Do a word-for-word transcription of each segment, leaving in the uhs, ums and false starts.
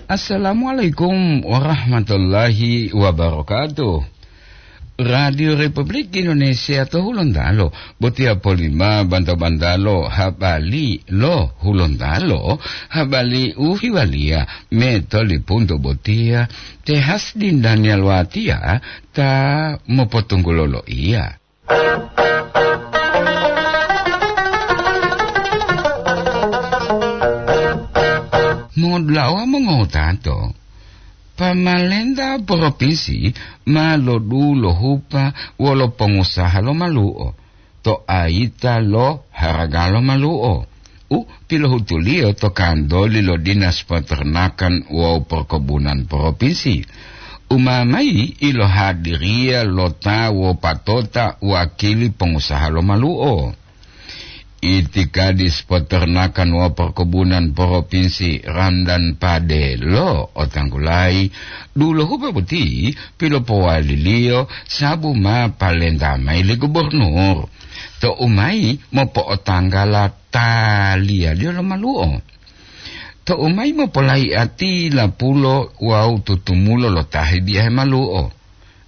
Assalamualaikum warahmatullahi wabarakatuh. Radio Republik Indonesia to Hulontalo, botiya polima banta-bantalo habali lo Hulontalo, habali u hiwaliya me tolipunto botiya, te Hasdin Daniel Watia ta mopotunggulo loiya. Modulawa mongotato, pamalenta propinsi ma lodulohupa wolo pongusaha lo malu'o to ayita lo haraga lo malu'o u pilohutuliyo to kantoli lo Dinas Peternakan wawu Perkebunan Propinsi. Umamayi ilohadiriya lo ta wopatota wakili pongusaha lo malu'o. Itikadis Peternakan wawu Perkebunan Propinsi Randan Pade lo otanggulayi, dulohupa boti pilopowaliliyo sabu ma palenta mayi li gubernur. Tou mayi mopo'otanggala taliyaliyo lo malu'o. Tou mayi mopolayi'ati lapulo wawu tutumulo lo ta hibiyahe malu'o.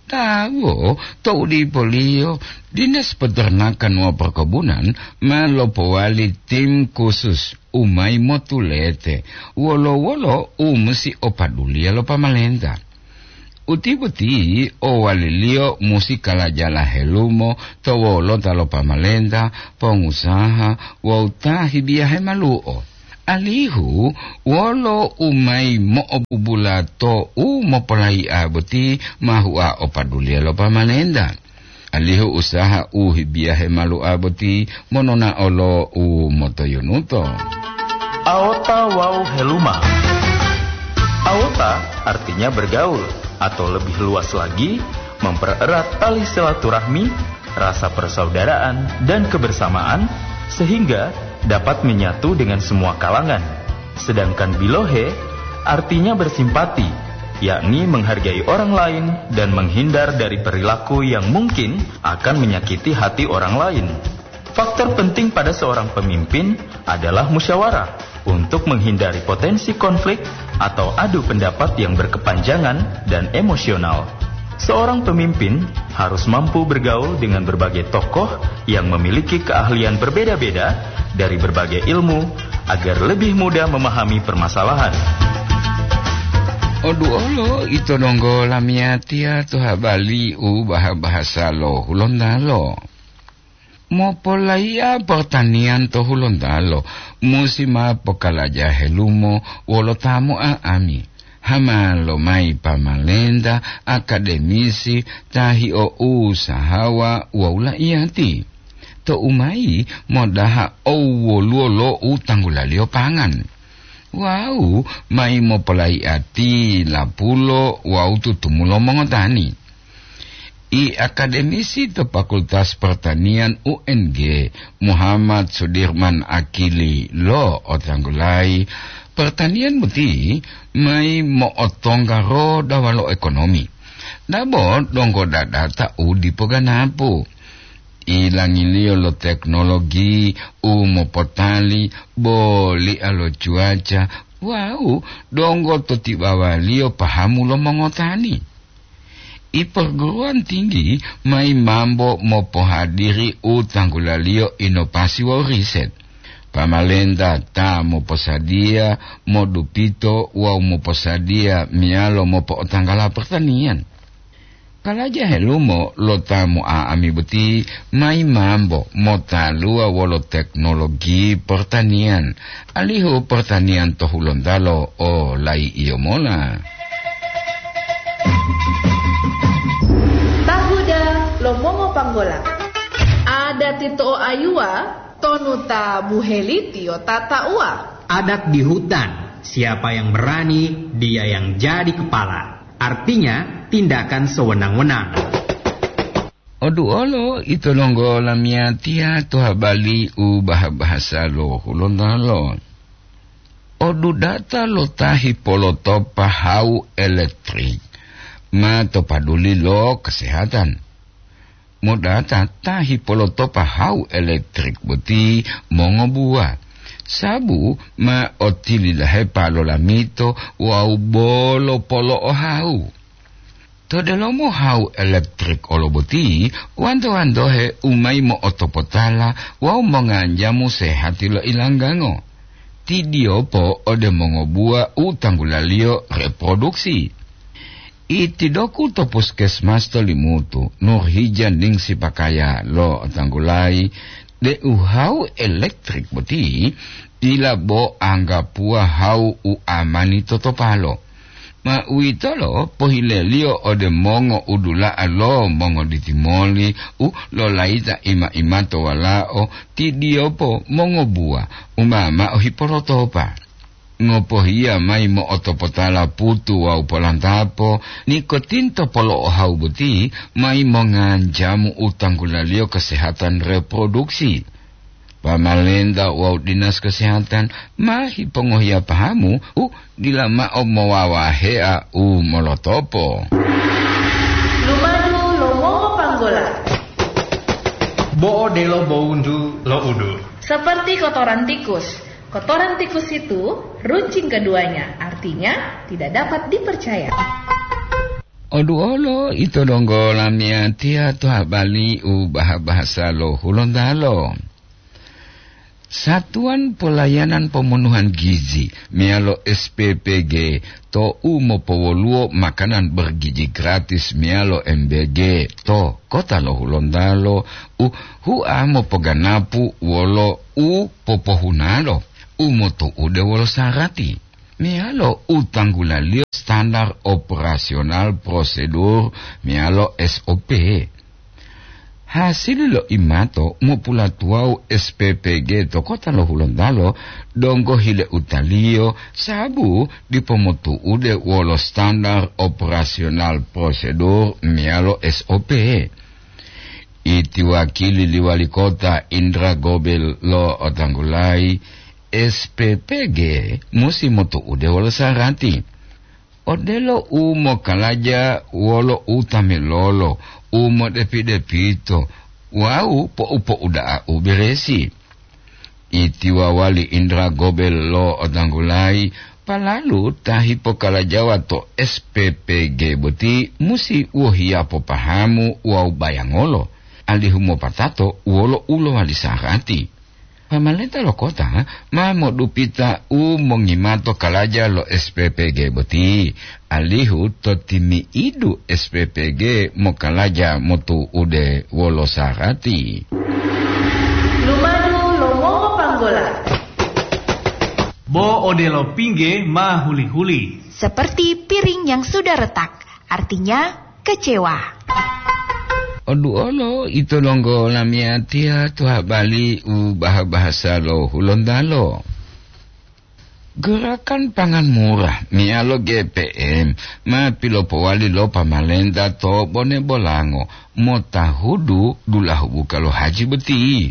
Tawo, tou dipoliyo, Dinas Peternakan wawu Perkebunan ma lopowali tim khusus u mayi motulete wolo-wolo u musi opaduliya lo pamalenta. Uti boti owaliliyo musi kalajala helumo to wolota lo pamalenta, pongusaha wawu ta hibiyahe malu'o. Alihu wolo u mayi mo'obubula to u mopolayi'a boti ma hua opaduliya lo pamalenta. Alihu usaha u hibiyahe malu'a boti monona'o lo u motoyunuto. Aota wawu heluma. Aota artinya bergaul, atau lebih luas lagi, mempererat tali silaturahmi, rasa persaudaraan, dan kebersamaan, sehingga dapat menyatu dengan semua kalangan. Sedangkan bilohe artinya bersimpati, yakni menghargai orang lain dan menghindar dari perilaku yang mungkin akan menyakiti hati orang lain. Faktor penting pada seorang pemimpin adalah musyawarah untuk menghindari potensi konflik atau adu pendapat yang berkepanjangan dan emosional. Seorang pemimpin harus mampu bergaul dengan berbagai tokoh yang memiliki keahlian berbeda-beda dari berbagai ilmu agar lebih mudah memahami permasalahan. Oduolo ito donggo lamiyatiya to habali u baha-bahasa lo Hulontalo. Mopolayi'a pertanian to Hulontalo musi ma pokalaja helumo wolo ta mo'a'ami. Hama lomayi pamalenta, akademisi, ta hio'usahawa wawu la'iyati. Tou mayi modaha owwoluwo lo u tanggulaliyo pangan. Wawu mayi mopolayi'ati lapulo wawu tutumulo mongotani. I akademisi to Fakultas Pertanian U N G, Muhammad Sudirman Akili lo otanggulayi, pertanian boti mayi mo'otongga roda walo ekonomi. Dabo donggo dadata u dipo ganapu. Ilangiliyo lo teknologi u mopotali, boli'a lo cuaca, wawu donggo to tibawaliyo pahamu lo mongotani. I perguruan tinggi mayi mambo mopohadiri u tanggulaliyo inovasi wawu riset. Pamalenta ta moposadiya, modupito wawu moposadiya meyalo mopo'otanggala pertanian. Kalaja helumo lo ta mo'a'ami boti mayi mambo motaluwa wolo teknologi pertanian, alihu pertanian to Hulontalo o layi'iyo mola. Tahuda lo mongopanggola. Adati to'oayuwa tonu ta buhelitiyo tata'uwa. Adat di hutan, siapa yang berani, dia yang jadi kepala. Artinya, tindakan sewenang-wenang. Oduolo ito donggo lamiyatiya to habali u baha-bahasa lo Hulontalo. Odudata lo ta hipolotopa hawu elektrik ma to paduli lo kesehatan. Modata ta hipolotopa hawu elektrik boti mongobuwa. Sabu ma otilidahepa lolamito wawu bolo polo'ohawu. To delomo hawu elektrik olo boti, wanto-wantohe u mayi mo'otopotala wawu monganjamu sehati lo ilanggango. Tidiyopo ode mongobuwa u tanggulaliyo reproduksi. Itidoku to puskesmas to Limutu, Nurhija ningsi pakaya lo tanggulayi deu hawu elektrik boti dila bo anggapuwa hawu u amani totopalo. Ma uwitolo pohileliyo ode mongo udula'a lo mongoditimoli u lolayita ima-imato walao tidiyopo mongobuwa u ma mao hipolotopa. Ngopohiya mayi mo'otopotala putu wawu polantapo, nikotinto polo'ohawu boti mayi monganjamu u tanggulaliyo kesehatan reproduksi. Pamalenta wawu dinas kesehatan ma hipongohiya pahamu u dila mao mowawahea u molotopo. Lumadu lo mongopanggola. Bo odelo bowuntu lo udu. Seperti kotoran tikus. Kotoran tikus itu runcing keduanya, artinya tidak dapat dipercaya. Oduolo ito donggo lamiyatiya to habali u baha-bahasa lo Hulontalo. Satuan Pelayanan Pemenuhan Gizi meyalo S P P G to u mopowoluwo makanan bergizi gratis meyalo M B G to kota lo Hulontalo u hua mopoganapu wolo u popohunalo u motu'ude wolo sarati meyalo u tanggulaliyo standar operasional prosedur meyalo S O P. Hasili lo imato mopulatuwawu S P P G to kota lo Hulontalo donggo hile utaliyo sabu dipo motu'ude wolo standar operasional prosedur meyalo S O P. Iti wakili li wali kota Indra Gobel lo otanggulayi, S P P G musi motu'ude wolo sarati. Odelo u mokalaja wolo u tamilolo, u modepi-depito, wawu po'u-po'uda'a u beresi. Iti wawali Indra Gobel lo otanggulayi, palalu ta hipokalajawa to S P P G boti musi wohiya popahamu wawu bayangolo, alihu mopatato wolo u lowali sarati. Pamalenta lo kota ma modupita u mongimato kalaja lo S P P G boti, alihu to timi'idu S P P G mokalaja motu'ude wolo sarati. Lumadu lo mongopanggola. Bo odelo pingge ma huli-huli. Seperti piring yang sudah retak, artinya kecewa. Oduolo ito donggo lamiyatiya to habali u baha-bahasa lo Hulontalo. Gerakan Pangan Murah meyalo G P M ma pilopowali lo pamalenta to Bone Bolango motahudu dulahu buka lo haji boti,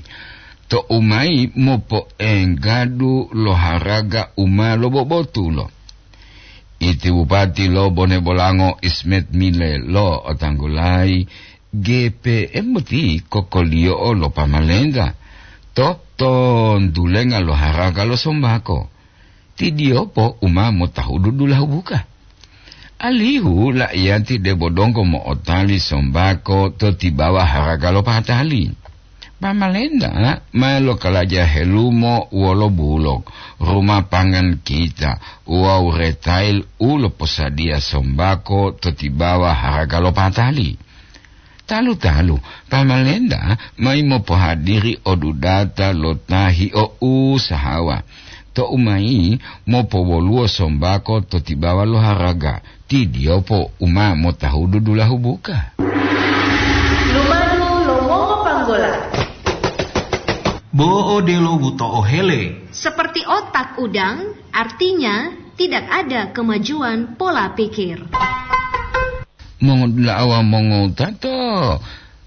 to u mayi mopoenggadu lo haraga u ma lobobotulo. Iti Bupati lo Bone Bolango Ismet Mile lo otanggulayi, G P M boti kokoliyo'o lo pamalenta to tontulenga lo haraga lo sombako. Tidiyopo u ma motahudu dulahu buka. Alihu la'iyati debo donggo mo'otali sombako to tibawa haraga lo patali. Pamalenta ma lokalaja helumo wolo bulok, rumah pangan kita wawu retail u loposadiya sombako to tibawa haraga lo patali. Talu-talu, pamalenta mayi mopohadiri odudata lo ta hio'usahawa, to u mayi mopowoluwo sombako to tibawa lo haraga, tidiyopo u ma motahudu dulahu buka. Lumadu lo mongopanggola. Bo odelo buto'o hele. Seperti otak udang, artinya tidak ada kemajuan pola pikir. Mongodula'a wawu mongowutato,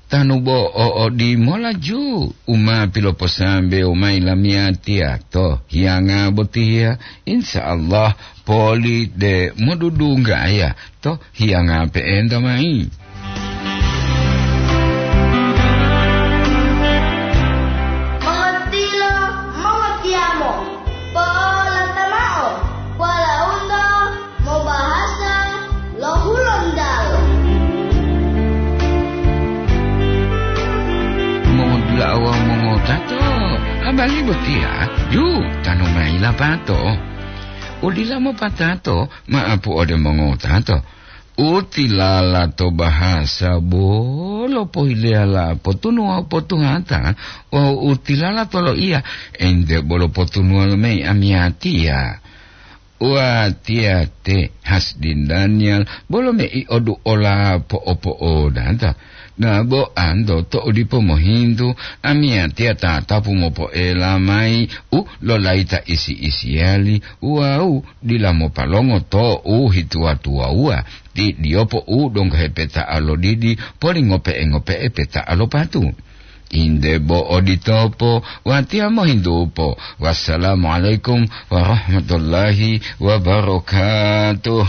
tanu bo o odimolaju u ma piloposambewo mayi lamiyatiya to hiyanga botiya, insya Allah poli de modudunggaya to hiyanga pe'enta mayi. Mongotilo, mongotiyamo. Botiya, yu, tanu mayi lapato. Udila mopatato, maapu ode mongowutato. Utilala to bahasa bolo pohileyala potunuwa potuhata, wawu utilala to loiya, ente bolo potunuwa lomeyi amiyatiya. Watiya te Hasdin Daniel bolo mei odu ola po'opo'odata. Nabo anto to odipo mohintu, amiyatiya tatapu mopoela mayi u lolayita isi-isiyali wawu dila mopalongo to u hituwa-tuwawuwa, ti diyopo u donggo hepeta'a lo didi polingope'e-ngope'e peta'a lo patu. Inde bo oditopo, watiya mohintupo. Wassalamualaikum warahmatullahi wabarakatuh.